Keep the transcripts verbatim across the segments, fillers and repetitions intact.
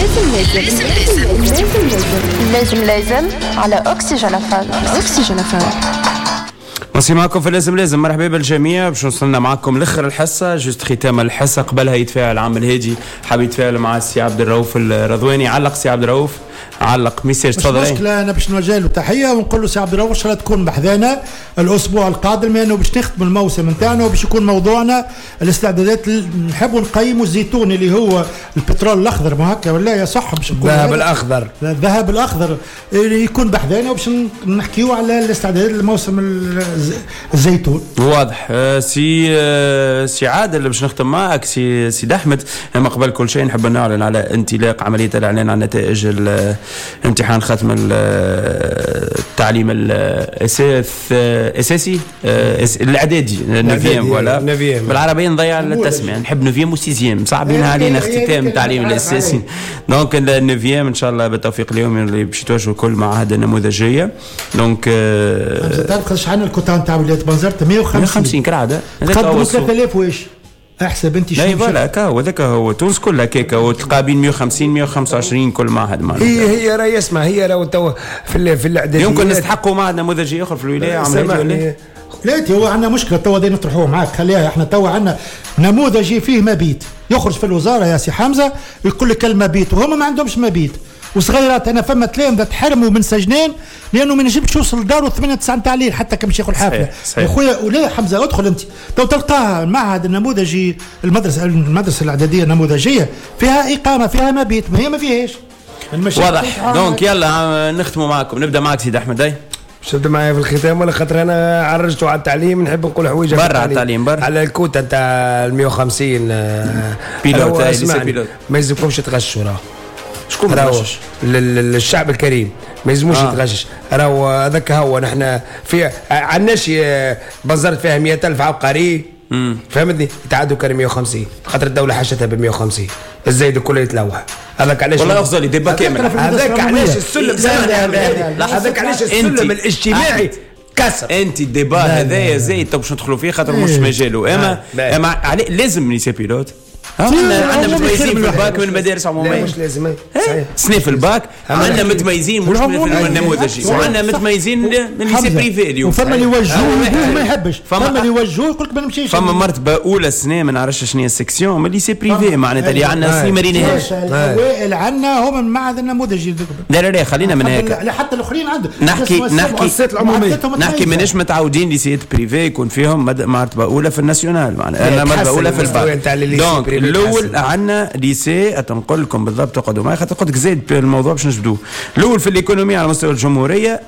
لازم لازم لازم لازم لازم على اكسجين فام. اكسجين فام. مواصلين معكم في لازم لازم. مرحبا بالجميع. باش وصلنا معكم لاخر الحصه، juste ختام الحصه. قبلها يتفاعل عم الهادي، حاب يتفاعل مع السي عبد الرؤوف الرضواني. علق سي عبد الرؤوف، علق message، تفضل. مش مشكله، انا باش نوجه له تحية ونقول له سي عبد الرؤوف ان شاء الله تكون بحذانا الاسبوع القادم، لانه باش نختم الموسم نتاعنا وباش يكون موضوعنا الاستعدادات. نحبوا نقيموا الزيتون اللي هو البترول الاخضر، ما هكا ولا يا صح؟ باش نقول الذهب الاخضر، الذهب الاخضر اللي يكون بحذانا وباش نحكيوا على الاستعدادات للموسم الزيتون. واضح. سي سي عادل باش نختم معك سي سي احمد. اما قبل كل شيء نحب نعلن على انطلاق عملية الاعلان عن نتائج امتحان ختم التعليم الاساس اساسي الاعدادي neuvième، ولا بالعربية نضيع التسمية، نحب neuvième و sixième صعبين علينا اختتام التعليم الاساسي. donc ال neuvième ان شاء الله بالتوفيق اليوم اللي باش يتوجهوا كل معاهد النموذجيه. donc تعرف قداش عندنا الكوتا نتاع ولاية بنزرت؟ مية وخمسين كرعده، تقدموا ثلاثة آلاف واش احسب انت شنو. لا voilà هكا وذاك هو تونس كلها كيكة، وتلقى بين مية وخمسين مية وخمسة وعشرين كل معهد. معناتها هي هي راهي اسمع، هي راهو تو في في الاعداديات يمكن نستحقوا معهد نموذجي اخر في الولاية. عملية لا هو عندنا مشكلة تو هذه نطرحوه معاك، خليها احنا تو عندنا نموذجي فيه مبيت يخرج في الوزارة يا سي حمزة يقول لك المبيت، وهم ما عندهمش مبيت وصغيرات. انا فما تلامذه تحرموا من سجنان لانه ما نجمش يوصل لداره ثمانية تسعة نتاع الليل حتى كي باش ياخذ حافلة. يا خويا ولا حمزة ادخل انت تو تلقاها المعهد النموذجي، المدرسة المدرسة الاعدادية النموذجيه فيها اقامه فيها مبيت، ما هي ما فيهاش. واضح. donc يلا نختموا معكم. نبدا معك سيد احمد. اي باش تبدا معايا في الختام ولا خاطر انا عرجت على التعليم نحب نقول حوايج برا على التعليم، برا على الكوتا نتاع ال مية وخمسين pilote. pilote ما يلزمكمش تغشوا، راه شكون مغشش؟ للشعب الكريم ما يلزموش آه. يتغشش، راهو هذاك هو. نحن في عندناش بنزرت فيها مية ألف عبقري، فهمتني؟ يتعدوا كان مية وخمسين خاطر الدولة حشتها ب مية وخمسين، الزايد الكل يتلوح. هذاك علاش والله افضل débat كامل. هذاك علاش السلم، هذاك علاش السلم الاجتماعي كسر. انت ال débat هذايا زايد تو باش ندخلوا فيه خاطر مش مجاله. اما اما لازم lycée pilote. عندنا عندنا متميزين في الباك من المدارس العمومية، مش لازم سنة في الباك عندنا متميزين مش من النموذجي، وعندنا متميزين من lycée privé اليوم. وفما اللي يوجهوه ما يحبش، فما اللي يوجهوه يقول لك ما نمشيش. فما مرتبه اولى سنة ما نعرفش شنو هي ال section من lycée privé، معناتها اللي عندنا سنة ما ريناهاش. الاوائل عندنا هما من المعهد النموذجي. لا لا لا خلينا من هيك، لا حتى الاخرين عندهم. نحكي نحكي نحكي ماناش متعودين lycée privé يكون فيهم مرتبه اولى في ال national، معناتها مرتبه اولى في ال bac. donc الاول عندنا lycée تنقل لكم بالضبط، تقعدوا معي خاطر قلت لك زايد الموضوع باش نجبدوه. الاول في ال économie على مستوى الجمهورية،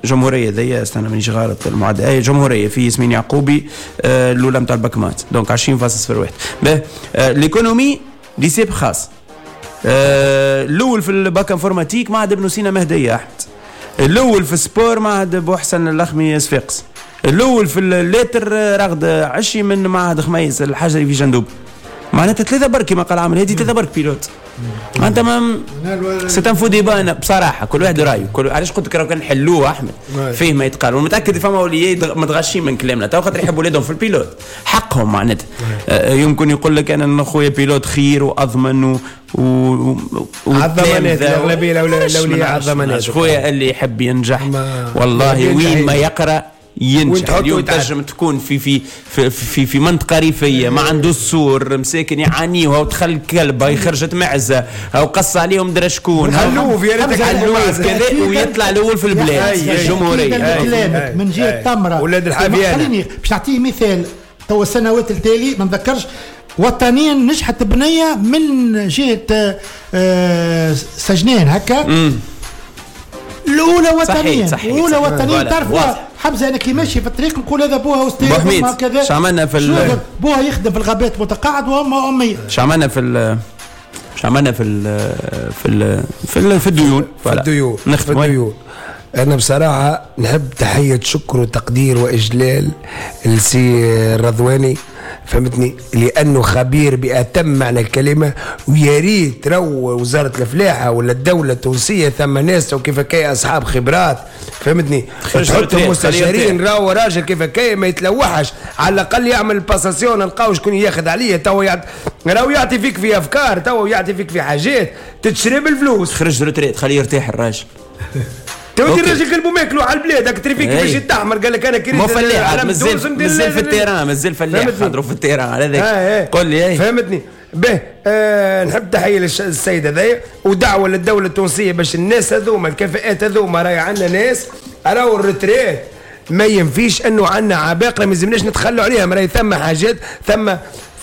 جمهورية ذي استنى مانيش غلط المعدل، اي جمهورية في ياسمين يعقوبي آه الاولى نتاع ال bac maths، donc عشرين فاصل صفر واحد. باه آه l'économie lycée بخاص. آه الاول في ال bac informatique معهد ابن سينا مهديه احمد. الاول في ال sport معهد بوحسن الاخمي صفاقس. الاول في ال lettres رغد عشي من معهد خميس الحجري في جندوب. معناتها ثلاثة برك كما قال عامل هادي، ثلاثة برك pilote. معناتها ما c'est un faux débat بصراحة، كل واحد رايه. كل علاش قلت لك راه كان نحلوه احمد فيه ما يتقال، ومتاكد فما وليات متغشين من كلامنا تو خاطر يحبوا ولادهم في ال pilote حقهم. معناتها آه يمكن يقول لك انا خويا pilote خير واضمن و و الضمانات الاغلبية الاولياء على الضمانات. خويا اللي يحب ينجح والله وين ما يقرا ينجح. اليوم تنجم تكون في في في في, في منطقة ريفيه ما عنده السور، مساكن يعانيوها ودخل كلبه خرجت معزة او قص عليهم درا شكون حلوف يا ريتك حلوف كذا ويطلع الاول في البلاد في الجمهورية. كلامك من جهة تمره ولاد الحافيان. خليني باش نعطيه مثال تو السنوات التالي ما نذكرش وطنيا نجحت بنيه من جهة آه سجنان هكا الاولى وطنيا، الاولى وطنيا. تعرف حمزة انا كي ماشي في الطريق نقول هذا بوها استاذ كذا. شو عملنا في ال... بوها يخدم في الغابات متقاعد وامه امية. شو عملنا في ال... شو عملنا في ال... في ال... في, ال... في الديون في الديون في الديون. انا بصراحة نحب تحية شكر وتقدير واجلال لسي الرضواني فهمتني، لانه خبير باتم معنى الكلمة. ويا ريت رو وزارة الفلاحة ولا الدولة التونسية ثم ناس وكيف كي اصحاب خبرات، فهمتني، تحطهم مستشارين. راهو راجل كيف كي ما يتلوحش، على الاقل يعمل passation، نلقاو شكون ياخذ عليه. تو يعط... راهو يعطي فيك في افكار، تو يعطي فيك في حاجات تتشري بالفلوس. خرج retraite خليه يرتاح الراجل. تو الراجل قلبه ماكلو على البلاد، هاك تريفيك باش يتحمر، قال لك انا كريت فلاح، مازال مازال في ال terrain، مازال فلاح خاطرو في ال terrain على ذاك. قول لي فهمتني. به آه نحب تحية للسيد هذايا ودعوة للدولة التونسية باش الناس هذوما الكفاءات هذوما، راهي عندنا ناس راهو ال retraite ما ينفيش انه عندنا عباقره ما يلزمناش نتخلوا عليها. راهي ثم حاجات، ثم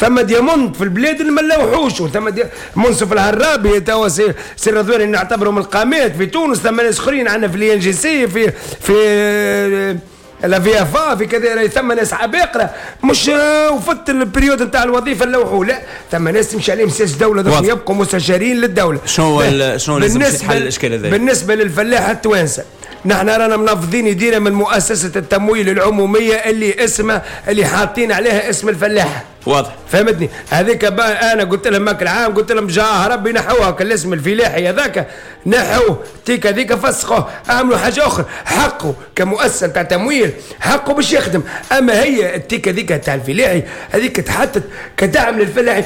ثم diamant في البلاد اللي ما نلوحوش، وثم دي... منصف الهرابي توا سي سي رضواني نعتبرهم القامات في تونس. ثم ناس اخرين عندنا في l'INGC، في في la VFA، في كذا، ثم ناس عباقره مش وفت ال période نتاع الوظيفة نلوحوا، لا ثم ناس تمشي عليهم سياسة الدولة باش يبقوا مستشارين للدولة. شنو شنو لازم يتحل الاشكال هذا بالنسبة للفلاح التوانسة؟ نحن رانا منفضين يدينا من مؤسسة التمويل العمومية اللي اسمها اللي حاطين عليها اسم الفلاح. واضح، فهمتني. هذيك انا قلت لهم ماك العام، قلت لهم جاه ربي نحوها الاسم الفلاحي هذاك، نحوه تيك هذيك فسخوه، اعملوا حاجة اخرى. حقه كمؤسسة تاع تمويل حقه باش يخدم، اما هي التيك هذيك تاع الفلاحي هذيك تحطت كدعم للفلاحي.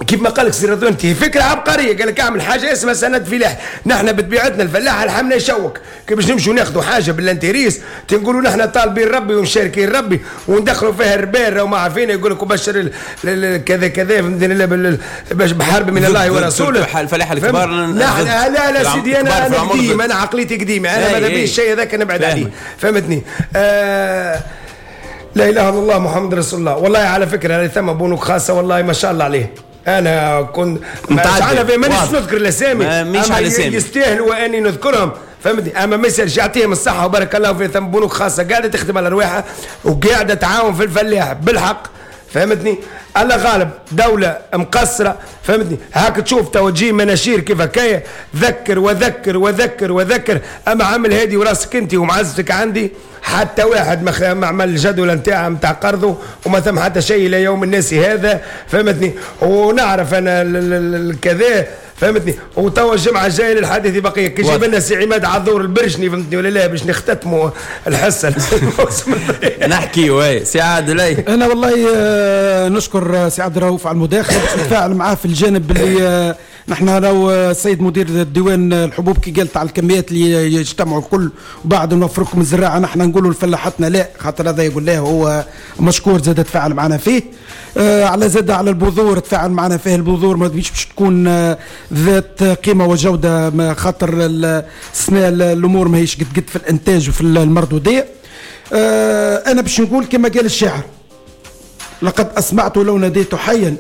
كيف ما قال لك سي رضوان، انت فكرة عبقرية، قال لك اعمل حاجة اسمها سند فلاح. نحن بطبيعتنا الفلاح لحمنا يشوك، كي باش نمشوا ناخذوا حاجة بال intérêt تنقولوا نحن طالبين ربي ومشاركين ربي وندخلوا فيها الربا، وما عارفين يقول لك وبشر كذا كذا، فهمتني، باش بحرب من الله ورسوله. الفلاح الكبار نحن لا لا سيدي، انا انا قديم، انا عقليتي قديمة، انا ماذا بي الشيء هذاك نبعد عليه، فهمتني. آه لا اله الا الله محمد رسول الله. والله على فكرة ثم بنوك خاصة والله ما شاء الله عليه، انا كنت انا في مانيش نذكر الاسامي، مش على الاسامي يستاهلوا اني نذكرهم، فهمتني، اما ما يسالش يعطيهم الصحة وبارك الله فيهم. ثم بنوك خاصة قاعدة تخدم على رواحها وقاعدة تعاون في الفلاح بالحق، فهمتني. الله غالب دولة مقصرة، فهمتني. هاك تشوف تو تجي مناشير كيف هكايا، ذكر وذكر وذكر وذكر، اما عامل هادي وراسك انت ومعزتك عندي، حتى واحد ما عمل الجدول نتاعه نتاع قرضه وما ثم حتى شيء الى يوم الناس هذا، فهمتني. ونعرف انا الكذا، فهمتني. وتوا الجمعة الجاية للحديث بقية، كي جاب لنا سي عماد عذور البرشني، فهمتني ولا لا، باش نختتموا الحصة. نحكي oui سي عادل. انا والله نشكر سي عبد الرؤوف على المداخلة باش نتفاعل معاه في الجانب اللي نحن لو السيد مدير الديوان الحبوب كي قالت على الكميات اللي يجتمعوا الكل وبعد نوفركم الزراعة، نحن نقولوا لفلاحتنا لا، خاطر هذا يقول له هو مشكور زاد تفاعل معنا فيه. آه على زاد على البذور تفاعل معنا فيه. البذور ما باش تكون آه ذات قيمة وجوده، خاطر السنة الامور ماهيش قد قد في الانتاج وفي المردوديه. آه انا باش نقول كما قال الشاعر: لقد اسمعت لو ناديت حيا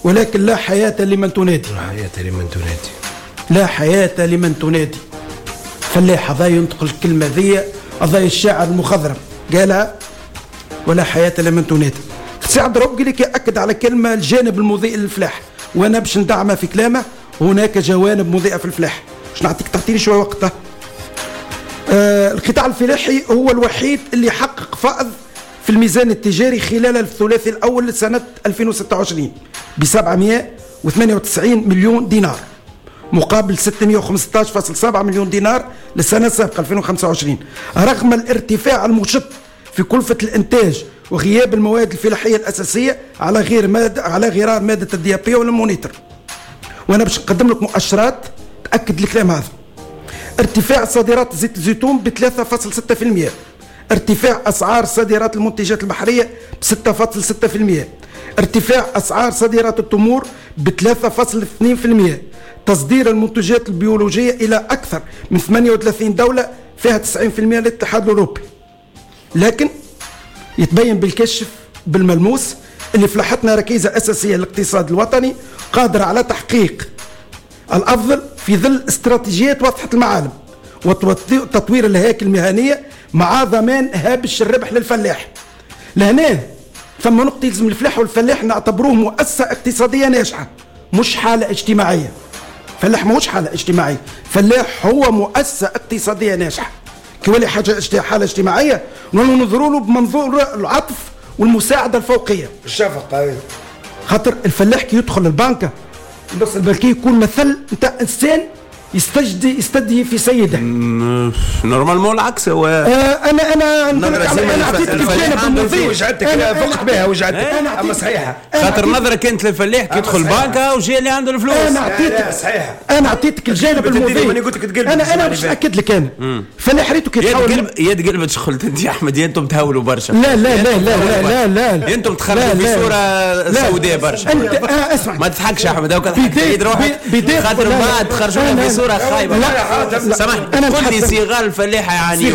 ولكن لا حياة لمن تنادي. لا حياة لمن تنادي، لا حياة لمن تنادي. فلاح هذا ينطق الكلمة ذي، هذا الشاعر المخضرم قالها، ولا حياة لمن تنادي. سي عبد الرؤوف قال لك يأكد على كلمة الجانب المضيء للفلاح، وأنا باش ندعمه في كلامه. هناك جوانب مضيئة في الفلاح، باش نعطيك تعطيني شوية وقته. آه القطاع الفلاحي هو الوحيد اللي حقق فائض في الميزان التجاري خلال الثلاثي الأول لسنة ألفين وستة وعشرين ب سبعمائة وثمانية وتسعين مليون دينار مقابل ستمائة وخمسة عشر فاصلة سبعة مليون دينار للسنة السابقة ألفين وخمسة وعشرين، رغم الارتفاع المشط في كلفة الإنتاج وغياب المواد الفلاحية الأساسية على غير مادة على غرار مادة ال DAP وال Moniteur. وأنا باش نقدم لك مؤشرات تأكد الكلام هذا. ارتفاع صادرات زيت الزيتون ب ثلاثة فاصلة ستة بالمئة، ارتفاع أسعار صادرات المنتجات البحرية ب ستة فاصلة ستة بالمئة، ارتفاع أسعار صادرات التمور ب ثلاثة فاصلة اثنين بالمئة، تصدير المنتجات البيولوجية إلى أكثر من ثمانية وثلاثين دولة فيها تسعين بالمئة للاتحاد الأوروبي. لكن يتبين بالكشف بالملموس اللي فلاحتنا ركيزة أساسية للاقتصاد الوطني قادرة على تحقيق الأفضل في ظل استراتيجيات واضحة المعالم وتطوير الهياكل المهنية مع ضمان هامش الربح للفلاح. لهنا ثم نقطة يلزم الفلاح والفلاح نعتبروه مؤسسة اقتصادية ناجحة مش حالة اجتماعية. فلاح ماهوش حالة اجتماعية، فلاح هو مؤسسة اقتصادية ناجحة. كي ولي حاجة حالة اجتماعية ننظروا له بمنظور العطف والمساعدة الفوقية. الشفقة. خاطر الفلاح كي يدخل البنكه النص البنكي يكون مثل نتاع انسان يستجدي يستدي في سيده. normalement العكس هو. آه انا انا نقول لك انا اعطيتك الجانب المضيء. وجعتك فقت بها وجعتك، اما صحيحه. خاطر النظرة كانت للفلاح كي يدخل بنكه وجاي اللي عنده الفلوس. انا اعطيتك صحيحه، انا اعطيتك الجانب المضيء. انا انا باش ناكد لك انا فلاح ريتو كي يتحول يد قلبت شخلت انت يا احمد، يا انتم تهولوا برشا. لا لا لا لا لا لا لا، انتم تخرجوا في صوره سوداء برشا. انت اسمع، ما تضحكش يا احمد، هاك تضحك روحك خاطر بعد تخرجوا في صوره خايبة. سامحني، قل لي صغار الفلاحة يعني